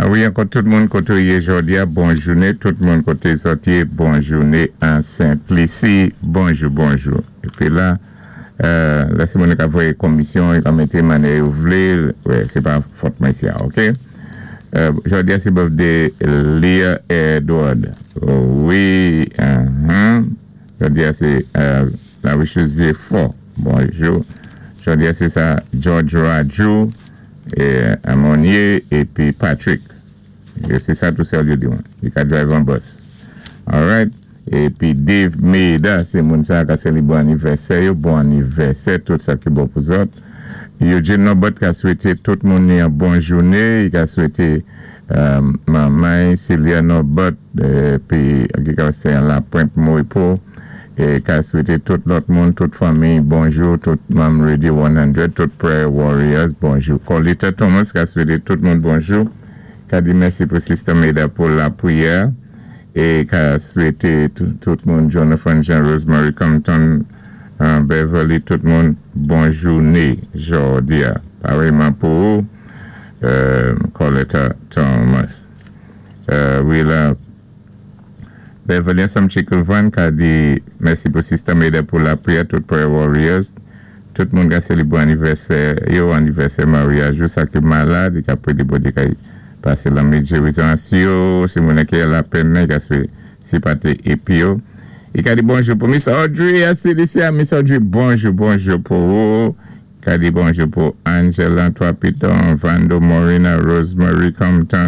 Wi, ankò tout moun koté ou yé jòdi-a, bon jouné, tout moun koté zòt yé, bon jouné an Sentlisi, bonjou, bonjou. Épi la, lè sé moun ka voyé komisyon, yo ka mété mannyè yo vlé, wè, sé pa fòt mwen isi a, OK? Jòdi-a sé birthday Leah Edward. Wi, Jòdi-a sé la wishes vyé fò. Bonjou. Jòdi-a sé sa George Raju, Monnier épi Patrick. Sé sa tou sèl yo di mwen. Li ka drive an bus. Alright. Épi Dave Meda, sé moun sa ka sé li bon anivèsè yo, bon anivèsè, tout sa ki bon pou zòt. Eugene Norbert ka swété tout moun ni an bon jouné, i ka swété manman Celia Norbert, épi ki ka wè an La Pointe Moripo, é ka swété tout lòt moun, tout fanmi, bonjou, tout manm Radio 100, tout Prayer Warriors, bonjou. Colita Thomas ka swété tout moun bonjou, ka di mèsi pou Sister Meda pou lapwiyè, é ka swété tout moun, Jonathan Jean, Rosemary Compton, Beverly, tout moun, bon jouné, jòdi-a. Parèyman pou Coletta Thomas. Wi la, Beverly ansanm Chikulvan ka di mèsi pou Sister Meda pou lapwiyè, tout Prayer Warriors, tout moun ka sélébwé anivèsè yo, anivèsè maryaj yo, sa ki malad, i ka pwédé Bondyé ka pasé lanmèd gérizon sou yo, si moun ki la pèn, i ka sipaté épi yo. I ka di bonjou pou Miss Audrey, a Celicia, Miss Audrey, bonjou, bonjou pou ou. Ka di bonjou pou Angela Trois Piton, Vando Morina, Rosemary Compton.